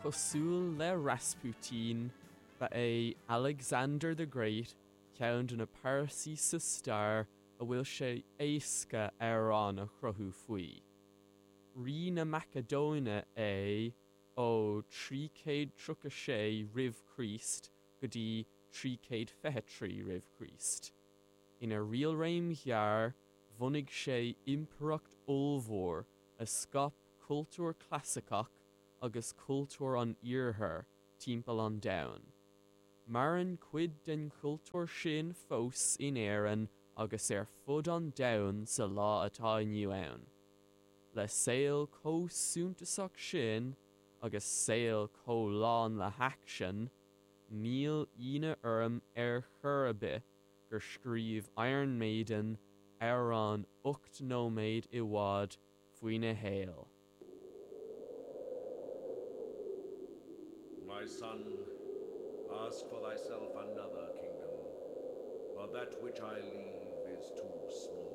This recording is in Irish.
Cosúil le Rasputin, ba é Alexander the Great ceann de na pearsaí sa stair a bhfuil sé éasca amhrán a chruthú faoi. Rí na Macadóine é ó 336 roimh Chríost go dtí 323 roimh Chríost. Ina riailréim ghearr, bhunaigh sé impireacht ollmhór a scaip cultúr clasaiceach agus cultúr an Iarthair timpeall an domhain. Maireann cuid den chultúr sin fós in Éirinn agus ar fud an domhain sa lá atá inniu ann. Le saol chomh suntasach sin agus saol chomh lán le haicsean, níl ionadh orm ar chor ar bith gur scríobh Iron Maiden amhrán 8 nóiméad i bhfad faoina shaol. My son, ask for thyself another kingdom, for that which I leave is too small.